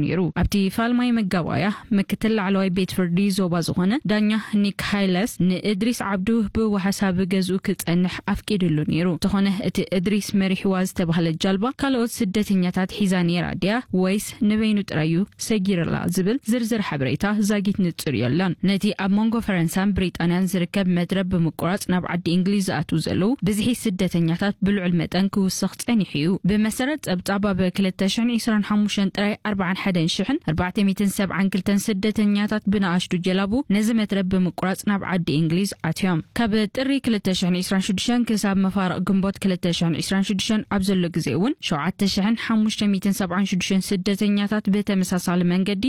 ነይሩ። ኣብቲ ፋልማይ መጋባያ ምክትል ላዕለዋይ ቤት ፍርዲ ዞባ ዝኾነ ዳኛ ኒክ ሃይለስ ንእድሪስ ዓብዱ ብዋሕሳብ ገዝኡ ክጸንሕ ኣፍቂድሉ ነይሩ። እንተኾነ እቲ እድሪስ መሪሕዋ ዝተባህለት ጃልባ ካልኦት ስደተኛታት ሒዛ ነይራ ድያ ወይስ ንበይኑ ጥራዩ ሰጊርላ ዝብል ዝርዝር ሓበሬታ ዛጊት ንጹር የለን። ነቲ ኣብ መንጎ ፈረንሳን ብሪጣንያን ዝርከብ መትረብ ብምቁራጽ ናብ ዓዲ እንግሊዝ ዝኣትዉ ዘለዉ ብዝሒ ስደተኛታት ብልዑል መጠን ክውስኽ ጸኒሑ እዩ። ብመሰረት ጸብጻብ ኣብ ክልተ ሽሕን ዕስራን ሓሙሽተን ጥራይ ኣርባዓን ሓደን ሽሕን ኣርባዕተ ሚእትን ሰብዓን ክልተን ስደተኛታት ብንኣሽቱ ጀላቡ ነዚ መትረብ ብምቁራጽ ናብ ዓዲ እንግሊዝ ኣትዮም። ካብ ጥሪ ክልተ ሽሕን ዕስራን ሽዱሽተን ክሳብ መፋርቕ ግንቦት ክልተ ሽሕን ዕስራን ሽዱሽተን ኣብ ዘሎ ግዜ እውን ሸውዓተ ሽሕን ሓሙሽተ ሚእትን ሰብዓን ሽዱሽተን ስደተኛታት ብተመሳሳሊ መንገዲ